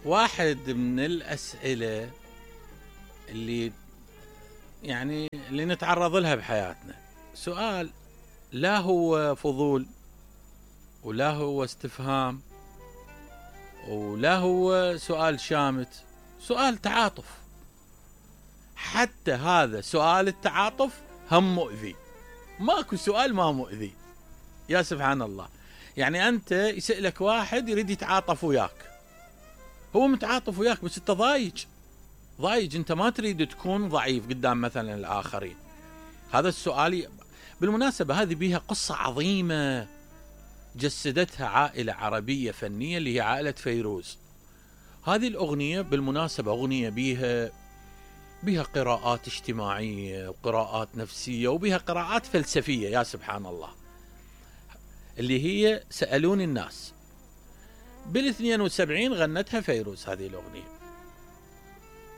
واحد من الأسئلة اللي نتعرض لها بحياتنا، سؤال لا هو فضول ولا هو استفهام ولا هو سؤال شامت، سؤال تعاطف. حتى هذا سؤال التعاطف هم مؤذي، ماكو سؤال ما مؤذي. يا سبحان الله، يعني أنت يسألك واحد يريد يتعاطف وياك، هو متعاطف وياك بس أنت ضايج، أنت ما تريد تكون ضعيف قدام مثلا الآخرين. هذا السؤال بالمناسبة هذه بيها قصة عظيمة جسدتها عائلة عربية فنية اللي هي عائلة فيروز. هذه الأغنية بالمناسبة أغنية بيها قراءات اجتماعية وقراءات نفسية وبيها قراءات فلسفية. يا سبحان الله، اللي هي سألوني الناس. بال72 غنتها فيروز هذه الأغنية،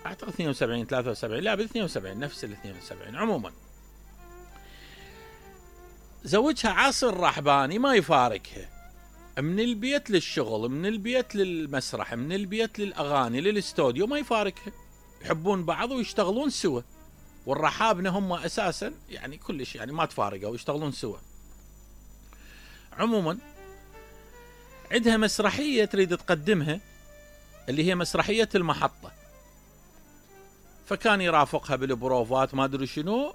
أعتقد 72 73، لا بال72 نفس ال72. عموما زوجها عاصر الرحباني ما يفارقها، من البيت للشغل، من البيت للمسرح، من البيت للأغاني للاستوديو، ما يفارقها. يحبون بعض ويشتغلون سوا، والرحابنة هم أساسا يعني كلش يعني ما تفارقوا ويشتغلون سوا. عموما عندها مسرحية تريد تقدمها اللي هي مسرحية المحطة، فكان يرافقها بالبروفات ما أدري شنو،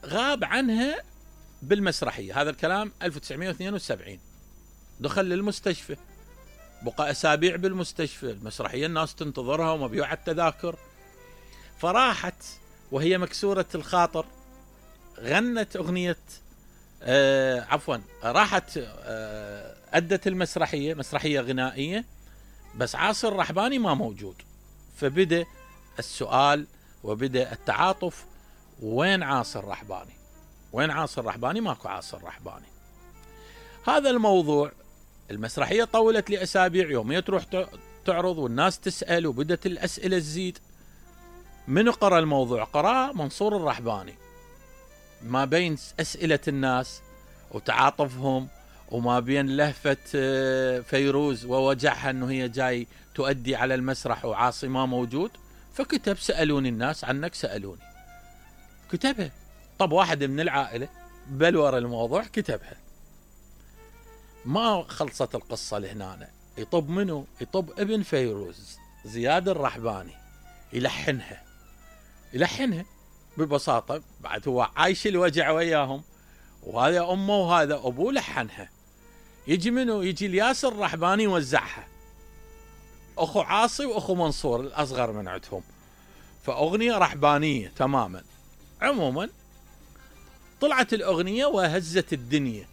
غاب عنها بالمسرحية. هذا الكلام 1972. دخل للمستشفى، بقى أسابيع بالمستشفى، المسرحية الناس تنتظرها ومبيوعة التذاكر. فراحت وهي مكسورة الخاطر، غنت أغنية راحت أدت المسرحية، مسرحية غنائية، بس عاصر الرحباني ما موجود. فبدأ السؤال وبدأ التعاطف، وين عاصر الرحباني؟ وين عاصر الرحباني؟ ماكو عاصر الرحباني. هذا الموضوع المسرحية طولت لأسابيع، يومية تروح تعرض والناس تسأل وبدت الأسئلة تزيد. من قرأ الموضوع؟ قرأ منصور الرحباني. ما بين أسئلة الناس وتعاطفهم وما بين لهفة فيروز ووجعها أنه هي جاي تؤدي على المسرح وعاصي ما موجود، فكتب سألوني الناس عنك سألوني، كتبها. طب واحد من العائلة بلور الموضوع كتبها. ما خلصت القصة لهنا، يطب منه؟ يطب ابن فيروز زياد الرحباني يلحنها ببساطة. بعد هو عايش الوجع وياهم، وهذا أمه وهذا أبوه لحنها. يجي منه؟ يجي الياسر الرحباني يوزعها، أخو عاصي وأخو منصور الأصغر من عندهم، فأغنية رحبانية تماما. عموما طلعت الأغنية وهزت الدنيا،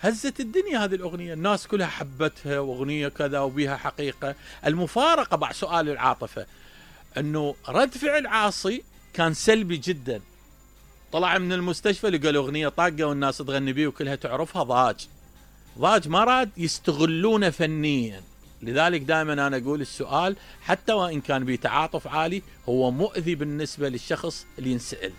هزت الدنيا هذه الأغنية، الناس كلها حبتها، وأغنية كذا وبيها حقيقة. المفارقة بعد سؤال العاطفة أنه رد فعل عاصي كان سلبي جدا. طلع من المستشفى لقى الأغنية طاقة والناس تغني بيه وكلها تعرفها، ضاج ما راد يستغلونه فنيا. لذلك دائما أنا أقول السؤال حتى وإن كان بتعاطف عالي هو مؤذي بالنسبة للشخص اللي ينسأل.